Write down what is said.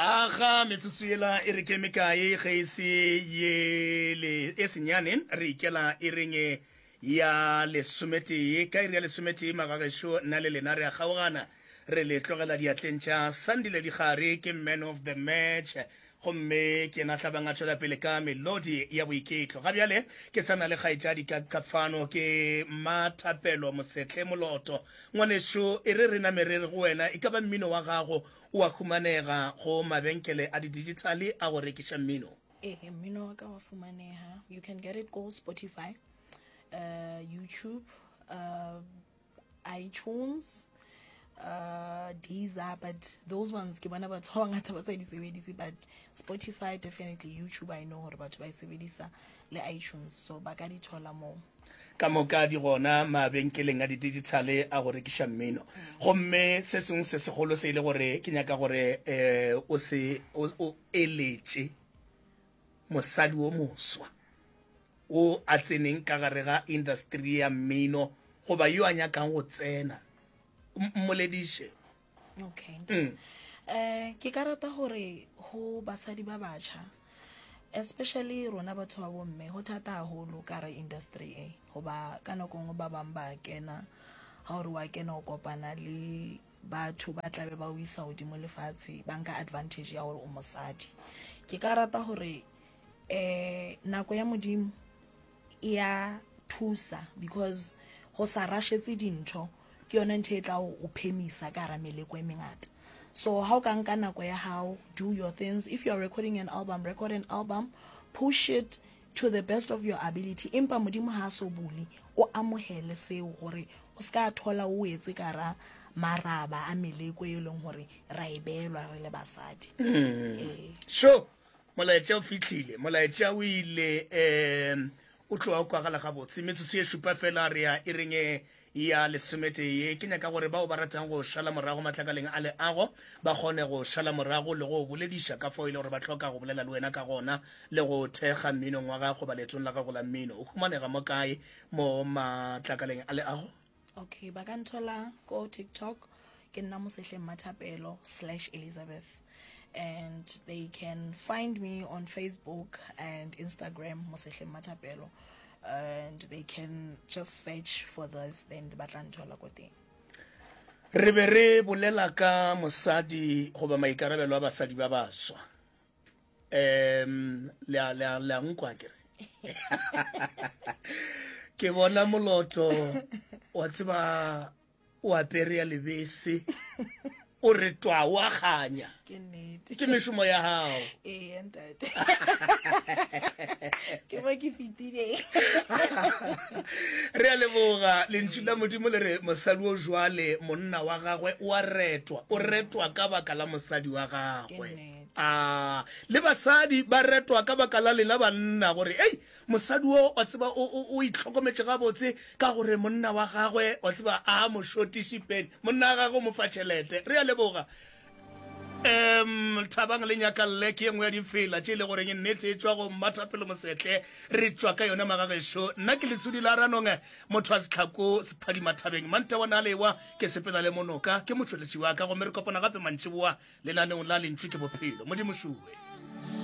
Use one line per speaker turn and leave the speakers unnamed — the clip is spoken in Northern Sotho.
Aga metsotso yela e re ke mekae ge e se ye le e senyane re ikela e reng ya lesometee ka iri ya lesometee magagešo nna le lena re a kgaogana re le tlogela diatleng tša Sandile Dikgare ke man of the match gomme ke yena tlabang a tšwela pele ka melodi ya boiketlo ga bjale ke sa na le kgaetšadi ka ka fano ke Mmathapelo Mosehle Moloto ngwanešo e re re name re re go wena e ka ba mmino wa gago O a humanega go mabenkele a di-digitale a go rekiša mmino.
Ee, mmino wa ka wa fumaneha. You can get it go Spotify, uh, YouTube, uh, iTunes, uh, Deezer, but those ones ke bona batho ba bangata ba sa di sebedise, but Spotify definitely, YouTube I know gore batho ba e sebedisa le iTunes, so ba ka di thola moo.
Ka moka di gona mabenkeleng a didijithale a go rekiša mmino. Gomme se sengwe se segolo se e le gore ke nyaka gore um o se o eletše mosadi wo moswa wo a tseneng ka gare ga industry ya mmino goba yo a nyakang go tsena, mmolediše.
Okay. Mm. Eh, ke ka rata gore go basadi ba batjha especially rona batho ba bomme go thata haholo ka re industry e goba ka nako nngwe ba bang ba kena ga gore wa kena o kopana le batho ba tlabe ba o isa godimo lefatshe ba nka advantage ya gore o mosadi ke ka rata gore um nako ya modimo e ya thusa because go sa rashetse dintho ke yone ntho e tla o phemisa ka gara meleko e mengata so ha o ka nka nako ya gago do your things if you are recording an album record an album push it to the best of your ability empa modimo ha a so bule o amohele seo gore o se ka thola o etse ka ra maraba a meleko e leng gore ra e beelwa re le basadi
mm. ee. sure Molaetša o fihlile, molaetša o ile, um o tloga o kwagala gabotse. Metsotso ye šupa fela re ya iring ya lesometee. Ke nyaka gore bao ba ratang go šala morago matlakaleng a leago ba kgone go šala morago le go bolediša ka fao e le gore ba hloka go bolela le wena ka gona le go thekga mminong wa gago goba leetong la gago la mmino. O humanega mo kae mo matlakaleng a leago?
Okay, ba ka nthola ko TikTok ke nna Mosehle Mmathapelo slash Elizabeth and they can find me on Facebook and Instagram Mosehle Mmathapelo and they can just search for this then ba tla nthola ko teng.
Re be re bolela ka mosadi goba maikarabelo a basadi ba baswa. Um le a le a le a nkwa ke re. Ke bona moloto wa tseba o apere ya lebese o re twa o a kganya.
Ke nnete.
Ke mešomo ya gago.
Ee ntate. Ke mo ke fetileng.
Re a leboga lentšu la Modimo le re mosadi o jwale monna wa gagwe o a retwa, o retwa ka baka la mosadi wa gagwe. A le basadi ba retwa ka baka la lena banna gore ei mosadi wo wa tseba o, o, o itlhokometše gabotse ka gore monna wa gagwe wa tseba a mo šotiše peni monna wa gagwe o mo fa tšhelete. Re a leboga. Um Thabang le Nyakalle ke ye nngwe ya difela tše e le goreng nnete e tšwa go Mmathapelo Mosetle. Re tšwa ka yona magagešo. Nna ke Lesodi la Ranong, motho wa Setlhako Sephadimathabeng. Mantawana a lewa ke sepela le monoka, ke motšweletši wa ka gomme re kopana gape mantšiboa Lenaneong la Lentšu ke Bophelo. Modimo šuwe.